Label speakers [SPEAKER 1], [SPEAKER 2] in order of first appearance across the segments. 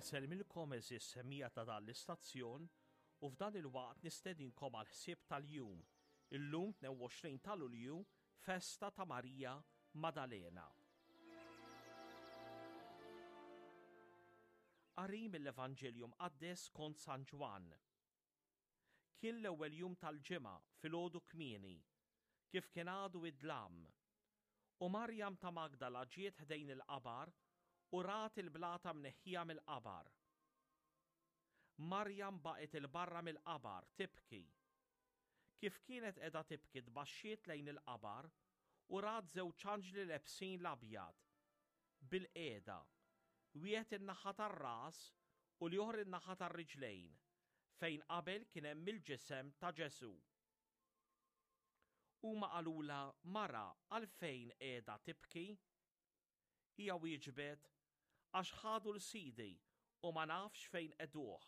[SPEAKER 1] Insellmilkom għeżież semmiegħa ta' dan l-istazzjon u f'dan il-waqt nistedinkom għall-ħsieb tal-jum, illum 22 ta' Lulju, festa ta' Marija Madalena. Qari mill-Evanġelju Mqaddes skont San Ġwann. Kien l-ewwel jum tal-ġimgħa filgħodu kmieni, kif kien għadu id-dlam. U Marjam ta' Magdala ġiet ħdejn il-qabar u rat il-blata mneħħija mill-qabar. Marjam baqgħet 'il barra mill-qabar tibki. Kif kienet qiegħda tibki tbaxxiet lejn il-qabar u rat żewġ anġli lebsin l-abjad, bilqiegħda, wieħed in-naħa tar-ras u l-ieħor in-naħa tar-riġlejn, fejn qabel kien hemm il-ġisem ta' Ġesù. Huma qalulha, Mara, għalfejn qiegħda tibki? Hija wieġbet, Għax ħadu 'l Sidi u ma nafx fejn qegħduh.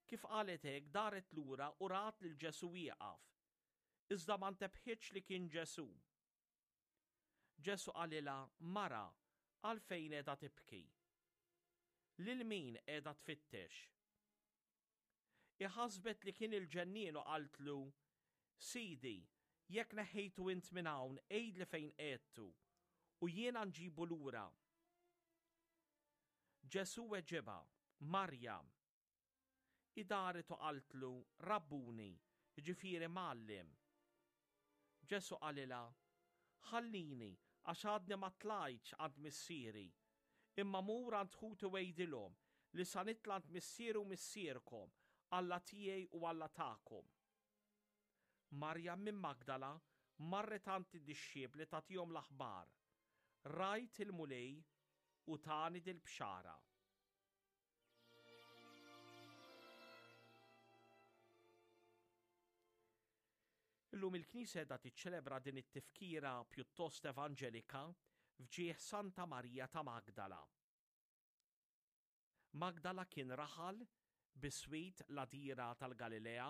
[SPEAKER 1] Kif qalet hekk daret lura u rat lil Ġesù wieqaf, iżda ma ntebħitx li kien Ġesù. Ġesù qalilha, Mara, għalfejn qiegħda tibki? Lil min qiegħda tfittex? Hi ħasbet li kien il-ġennien u qaltlu, Sidi, jekk neħħejtu int minn hawn, għidli fejn qegħedtu, u jiena nġibu lura. Ġesù weġibha, Marjam. Hi daret u qaltlu, Rabbuni, jiġifieri Mgħallem. Ġesù qalilha, Ħallini, għax għadni ma tlajtx għand Missieri, imma mur għand ħuti u għidilhom li sa nitla' għand Missieri u Missierkom, Alla tiegħi u Alla tagħkom. Marjam minn Magdala marret għand id-dixxipli tagħtihom l-aħbar, Rajt il-Mulej u tani dil-bxara. Illum il-Knisja qiegħda tiċċelebra din it-tifkira pjuttost evanġelika f'ġieħ Santa Marija ta' Magdala. Magdala kien raħal biswit l-għadira tal-Galilea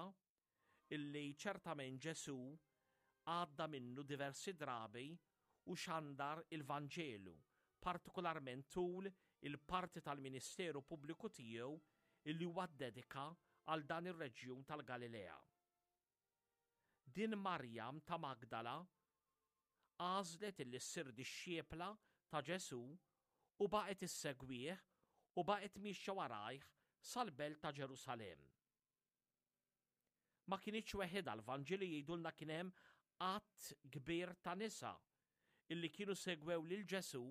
[SPEAKER 1] illi ċertament Ġesù għadda minnu diversi drabi u xandar il-Vanġelu, partikolarment tul il-parti tal-ministeru pubbliku tiegħu illi huwa ddedika għal dan ir-reġjun tal-Galilea. Din Marjam ta' Magdala għażlet illi ssir dixxiepla ta' Ġesù u baqgħet issegwih u baqgħet miexja warajh sal-belt ta' Ġerusalemm. Ma kinitx weħidha, l-Vanġeli jgħidulna kien hemm għadd kbir ta' nisa illi kienu segwew lil Ġesù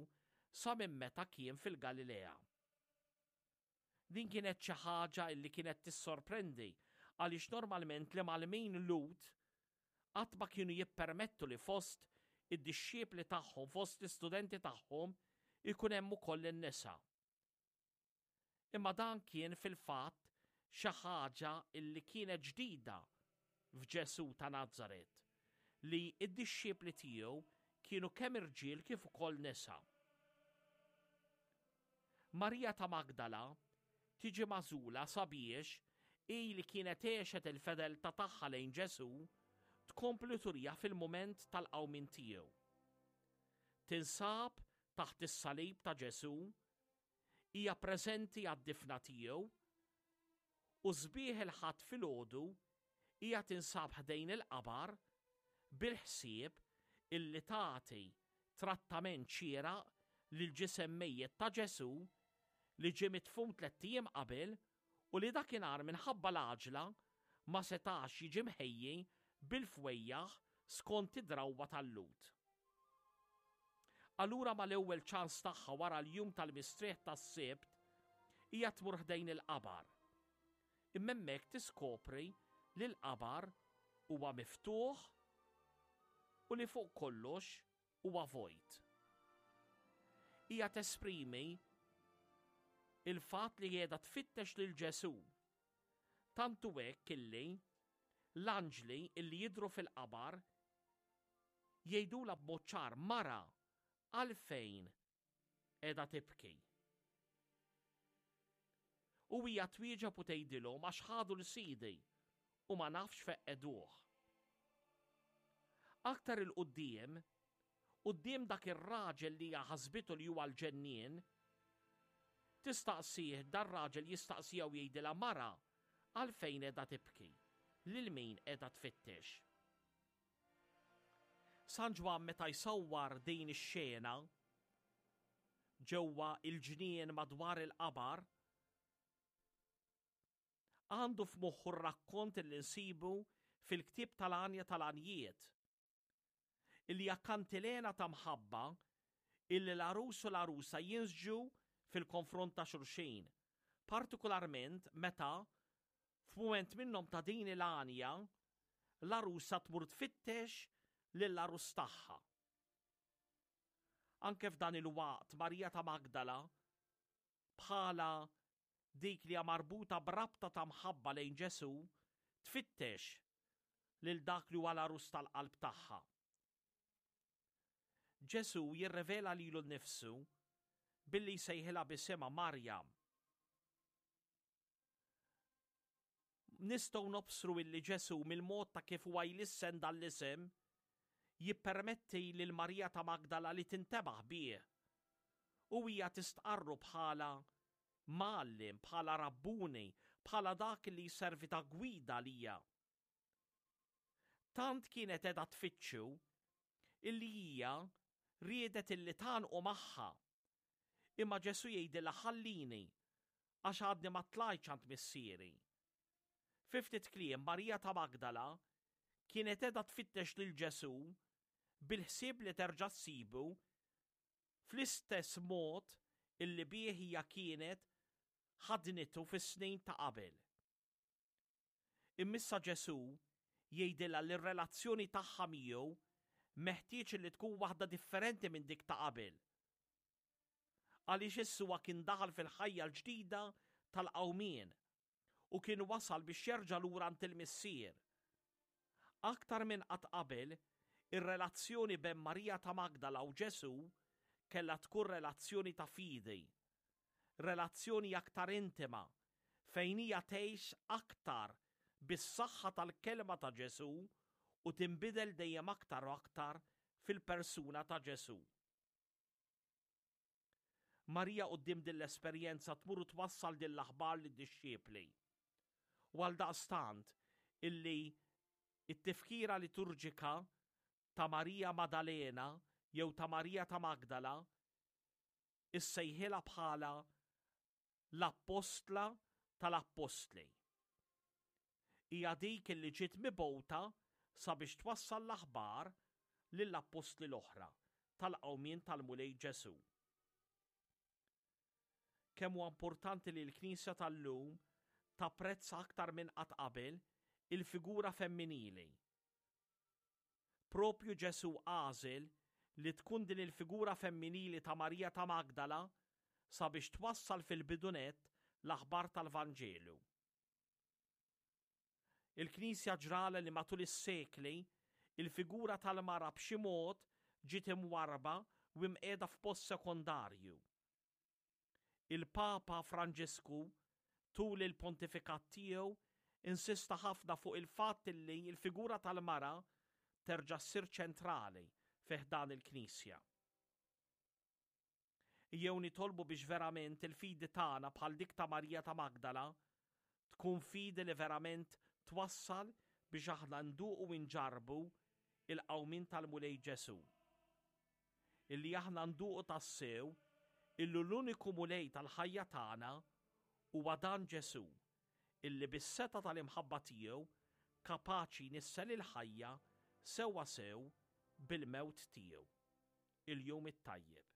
[SPEAKER 1] sa minn meta kien fil-Galilea. Din kienet xi ħaġa illi kienet tissorprendi għaliex normalment l-imgħallmin Lhud qatt ma kienu jippermettu li fost id-dixxipli tagħhom, fost l-istudenti tagħhom, ikun hemm ukoll in-nisa. Imma dan kien fil-fatt xi ħaġa illi kienet ġdida f'Ġesù ta' Nazaret, li d-dixxipli tiegħu kienu kemm irġiel kif ukoll nisa. Marija ta' Magdala tiġi magħżula sabiex hi li kienet għexet il-fedeltà tagħha lejn Ġesù tkompli turiha fil-mument tal-qawmien tiegħu. Tinsab taħt is-salib ta' Ġesù Hija preżenti għad-difna tiegħu u sbieħ il-Ħadd filgħodu hija tinsab ħdejn il-qabar bil-ħsieb illi tagħti trattament xieraq lill-ġisem mejjet ta' Ġesù li ġie midfun tlett ijiem qabel u li dakinhar minħabba l-għaġla ma setax jiġi mħejji bil-fwejjaħ skont id-drawwa tal-Lhud. Allura mal-ewwel ċans tagħha wara l-jum tal-mistrieħ tas-Sibt, hija tmur ħdejn il-qabar. Imma hemmhekk tiskopri li l-qabar huwa miftuħ u li fuq kollox huwa vojt. Hija tesprimi il-fatt li qiegħda tfittex lil Ġesù. Tant hu hekk illi l-anġli illi jidhru fil-qabar jgħidulha b'mod ċar, Mara, għalfejn qiegħda tibki? U hija twieġeb u tgħidilhom għax ħadu 'l Sidi u ma nafx fejn qegħduh. Aktar 'il quddiem, quddiem dak ir-raġel li hija ħasbitu li huwa l-ġennien, Tistaqsih, dar-raġel jistaqsiha u jgħidilha mara, għalfejn qiegħda tibki? Lil min qiegħda tfittex? San Ġwann meta jsawwar din ix-xena ġewwa il-ġnien madwar il-qabar, għandu f'moħħu r-rakkont li nsibu fil-ktieb tal-Għanja tal-Għanjiet, illi hija kantilena ta' mħabba illi l-għarus u l-għarusa jinsġu fil-konfront ta' xulxin, partikularment meta f'mument minnhom ta' din il-għanja l-għarusa tmur tfittex lill-għarus tagħha. Anke f'dan il-waqt Marija ta' Magdala bħala dik li hija marbuta b'rabta ta' mħabba lejn Ġesù, tfittex lil dak li huwa l-għarus tal-qalb tagħha. Ġesù jirrivela lilu nnifsu billi jsejħilha b'isimha Marjam. Nistgħu nobsru illi Ġesù mill-mod ta' kif huwa jlissen dan l-isem jippermetti lil Marija ta' Magdala li tintebaħ bih u hija tistqarru bħala mgħallem, bħala rabbuni, bħala dak li jservi ta' gwida għalija. Tant kienet qiegħda tfittxu illi hija riedet illi tgħannqu magħha. Imma Ġesù jgħidilha ħallini għax għadni ma tlajtx għand Missieri. Fi ftit kliem, Marija ta' Magdala kienet qiegħda tfittex lil Ġesù bil-ħsieb li terġa' ssibu fl-istess mod illi bih hija kienet ħadnitu fis-snin ta' qabel. Imma issa Ġesù jgħidilha li r-relazzjoni tagħha miegħu meħtieġ li tkun waħda differenti minn dik ta' qabel. Għaliex issa huwa kien daħal fil-ħajja l-ġdida tal-qawmien u kien wasal biex jerġa' lura għand il-Missier. Aktar minn qatt qabel, ir-relazzjoni bejn Marija ta' Magdala u Ġesù kellha tkun relazzjoni ta' fidi, relazzjoni aktar intima fejn hija tgħix aktar bis-saħħa tal-kelma ta' Ġesù u tinbidel dejjem aktar u aktar fil-persuna ta' Ġesù. Marija quddiem din l-esperjenza tmur u twassal din l-aħbar lid-dixxipli. U għaldaqstant illi t-tifkira liturġika ta' Marija Madalena jew ta' Marija ta' Magdala issejħilha bħala l-appostla tal-appostli. Hija dik illi ġiet mibgħuta sabiex twassal l-aħbar lill-appostli l-oħra tal-qawmien tal-Mulej Ġesù. Kemm huwa importanti li l-Knisja tal-lum tapprezza aktar minn qatt qabel il-figura femminili. Propju Ġesù għażel li tkun din il-figura femminili ta' Marija ta' Magdala sabiex twassal fil-bidu nett l-aħbar tal-Vanġelu. Il-Knisja ġralha li matul is-sekli, il-figura tal-mara b'xi mod ġiet imwarrba u imqiegħda f'post sekondarju. Il-Papa Franġisku tul il-pontifikat tiegħu insista ħafna fuq il-fatt li l-figura tal-mara terġa' ssir ċentrali fi ħdan il-Knisja. Ejjew nitolbu biex verament il-fidi tagħna bħal dik ta' Marija ta' Magdala tkun fidi li verament twassal biex aħna nduqu u nġarrbu il-qawmien tal-Mulej Ġesù. Illi aħna nduqu tassew illi l-uniku Mulej tal-ħajja tagħna huwa dan Ġesù illi bis-setgħa tal-imħabba tiegħu kapaċi jnissel il-ħajja sewwasew bil-mewt tiegħu. Il-Jum it-Tajjeb.